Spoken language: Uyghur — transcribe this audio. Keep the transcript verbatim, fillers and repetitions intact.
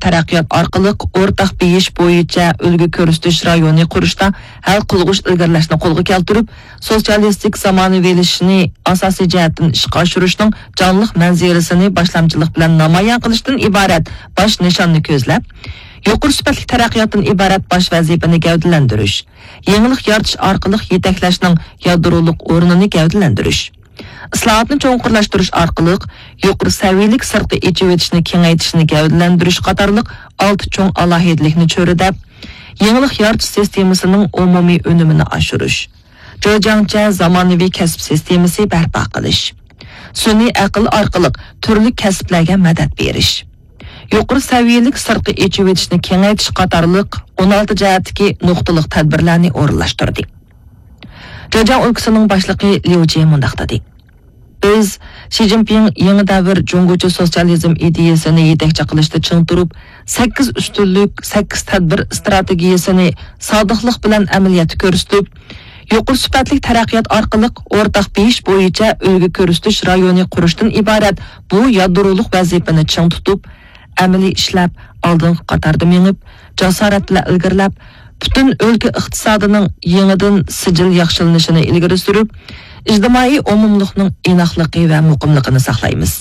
تەرەققىيات ئارقىلىق ئورتاق بېيىش بويىچە ئۈلگە كۆرسىتىش رايونى قۇرۇشتا ھەل قىلغۇچ ئىلگىرىلەشنى قولغا كەلتۈرۈپ، سوتسىيالىستىك زامانىۋىلىشىشنى ئاساسىي جەھەتتىن ئىشقا ئاشۇرۇشنىڭ جانلىق مەنزىرىسىنى باشلامچىلىق بىلەن نامايان قىلىشتىن ئىبارەت باش نىشاننى كۆزلەپ، يۇقىرى سۈپەتلىك تەرەققىياتتىن ئىبارەت باش ۋەزىپىنى گەۋدىلەندۈرۈش، يېڭىلىق يارىتىش ئارقىلىق يېتەكلەشنىڭ يادرولۇق ئورنىنى گەۋدىلەندۈرۈش، ئىسلاھاتنى چوڭقۇرلاشتۇرۇش ئارقىلىق يۇقىرى سەۋىيەلىك سىرتقا ئېچىۋېتىشنى كېڭەيتىشنى گەۋدىلەندۈرۈش قاتارلىق ئالتە چوڭ ئالاھىدىلىكنى چۆرىدەپ، يېڭىلىق يارىتىش سىستېمىسىنىڭ ئومۇمىي ئۈنۈمىنى ئاشۇرۇش، جېجياڭچە زامانىۋى كەسىپ سىستېمىسى بەرپا قىلىش، سۈنئىي ئەقىل ئارقىلىق تۈرلۈك كەسىپلەرگە مەدەت بېرىش، يۇقىرى سەۋىيەلىك سىرتقا ئېچىۋېتىشنى كېڭەيتىش قاتارلىق ئون ئالتە جەھەتتىكى نۇقتىلىق تەدبىرلەرنى ئورۇنلاشتۇردى. جېجياڭ ئۆلكىسىنىڭ باشلىقى ليۇ جې مۇنداق دېدى: بىز شى جىنپىڭ يېڭى دەۋر جۇڭگوچە سوتسىيالىزم ئىدىيەسىنى يېتەكچى قىلىشتا چىڭ تۇرۇپ، سەككىز ئۈستۈنلۈك، سەككىز تەدبىر ئىستراتېگىيەسىنى سادىقلىق بىلەن ئەمەلىيەتتە كۆرسىتىپ، يۇقىرى سۈپەتلىك تەرەققىيات ئارقىلىق ئورتاق بېيىش بويىچە ئۈلگە كۆرسىتىش رايونى قۇرۇشتىن ئىبارەت بۇ يادرولۇق ۋەزىپىنى چىڭ تۇتۇپ، ئەمەلىي ئىشلەپ، ئالدىنقى قاتاردا مېڭىپ، جاسارەت بىلەن ئىلگىرىلەپ، پۈتۈن ئۆلكە ئىقتىسادىنىڭ يېڭىدىن سىجىل ياخشىلىنىشىنى ئىلگىرى سۈرۈپ، ئىجتىمائىي ئومۇملۇقنىڭ ئىناقلىقى ۋە مۇقىملىقىنى ساقلايمىز.